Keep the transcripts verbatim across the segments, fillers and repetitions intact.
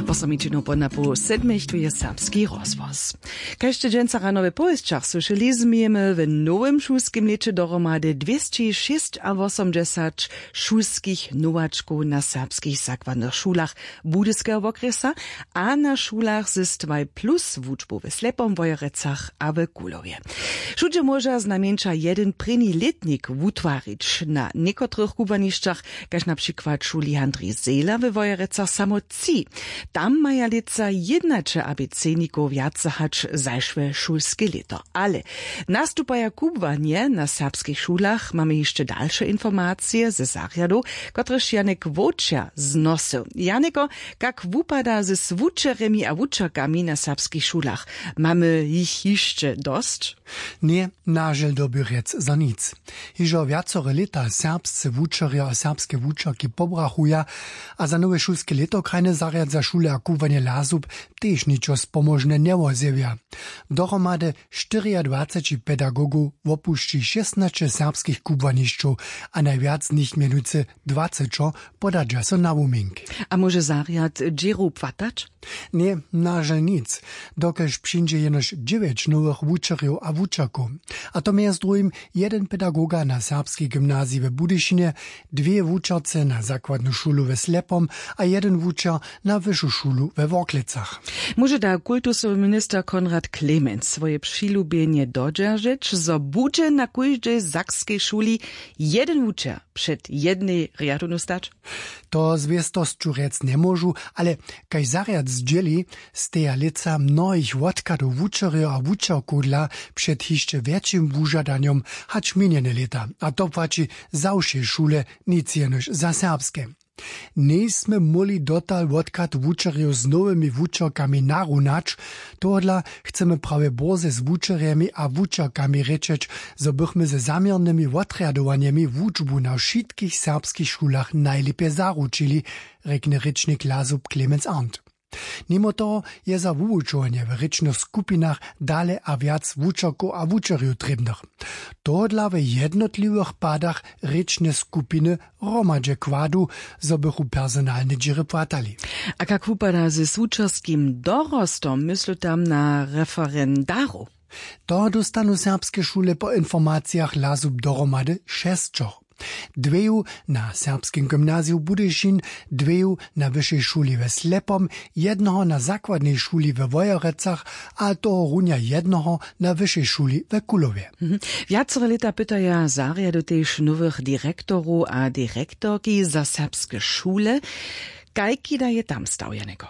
Wosomičinu po napoł sedmich tu je serbski rozhłos. Kaž sće dźensa rano we powěsćach słyšeli, změjemy w nowym šulskim lěće dohromady dwěsćišěsćawosomdźesać šulskich nowačkow na serbskich zakładnych šulach Budyskeho wokrjesa a na šulach z dwaj plus wučbu w Slepom, Wojerecach a w Kulowje. Wšudźe móža znajmjeńša jedyn prěni lětnik wutwarić. Na někotrych kubłanišćach, kaž na přikład šuli Handrij Zehler we Wojerecach, samo tři. Tam maja lětsa jědnaće abecednikow wjace hač zašłe šulske lěto. Ale nastupaja kubłanje na serbskich šulach? Mamy hišće dalše informacije ze zarjadow, kotrež Janek Wočer znosył. Janeko, kak wupada ze wučerjemi a wučerkami na serbskich šulach? Mamy jich hišće dosć? Ně, na žel dyrbi rjec za nic. Hižo wjacore lěta serbsce wučerjo a serbske wučerki pobrachuja a za nowe šulske lěto krajnje zarjadza šule a kubłanje LASUB tež ničo spomožne njewozjewja. Dohromady štyriadwaceći pedagogow wopušći šěsnaće serbskich kubłanišćow a najwjac z nich, mjenujcy dwacećo, podadźa so na wumink. A móže zarjad dźěru płatać? Ně, na žel nic, dokelž přińdźe jenož dźewjeć nowych wučerjow a wučerkow. A to mjez druhim jedyn pedagoga na serbskej gymnaziji w Budyšinje, dwě wučerce na zakładnu šulu w Slepom a jedyn wučer na wyšu šulu we Worklecach. Móže da kultusowy minister Konrad Clemens swoje přilubjenje dodźeržeć, zo budźe na kóždej sakskej šuli jedyn wučer před jednej rjadownju stać? To z wěstosću rjec njemóžu, ale kaž zarjad zdźěli, steja lětsa mnohich wotchadow wučerjow a wučerkowdla před hišće wjetšim wužadanjom hač minjene lěta, a to płaći za wšě šule, nic jenož za serbske. Njejsmy móhli dotal wotchad wučerjow z nowymi wučerkami narunać. Tohodla chcemy prawje bórze z wučerjemi a wučerkami rěčeć, zo bychmy ze zaměrnymi wotrjadowanjemi wučbu na wšitkich serbskich šulach najlěpje zaručili, rjekny rěčnik LASUB Clemens Arndt. Nimo toho je za wuwučowanje w rěčnych skupinach dale a wjac wučerkow a wučerjow trěbnych. Tohodla w jednotliwych padach rěčne skupiny hromadźe kładu, zo bychu personalne dźěry płatali. A kak wupada ze wučerskim dorostom, myslu tam na referendarow? To dóstanu serbske šule po informacijach LASUB dohromady šesćoch. Dweju na Serbskim gymnaziju Budyšin, dweju na Wyšej šuli we Slepom, jednoho na zakładnej šuli we Wojerecach a tohorunja jednoho na Wyšej šuli we Kulowje. Wjacore lěta pytaja zarjady tež nowych direktorow a direktorki za serbske šule. Kajki da je tam stał, Janeko?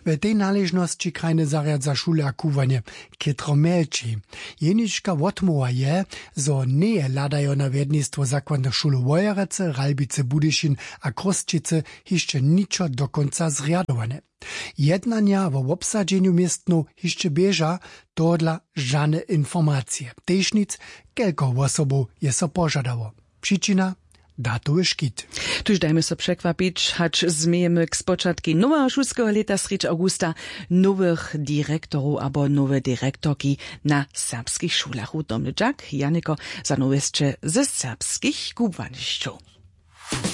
W tej naležnosći krajny zarjad za šule a kubłanje chětro mjelči. Jenička wotmołwa je, zo njeje hladajo na wjednistwo zakładnych šulow Wojerecy, Ralbicy, Budyšin a Chrósćicy hišće ničo do kónca zrjadowane. Jednanja wo wobsadźenju městnow hišće běža. Tohodla žane informacije, tež nic, kelko wosobow je so požadało. Přičina: datowy škit. Tuž dajmy so překwapić, hač změjemy k spočatkej noweho šulskeho lěta srjedź awgusta nowych direktorow abo nowe direktorki na serbskich šulach. Wutomny dźak, Janiko, za nowjesće ze serbskich kubłanišćow.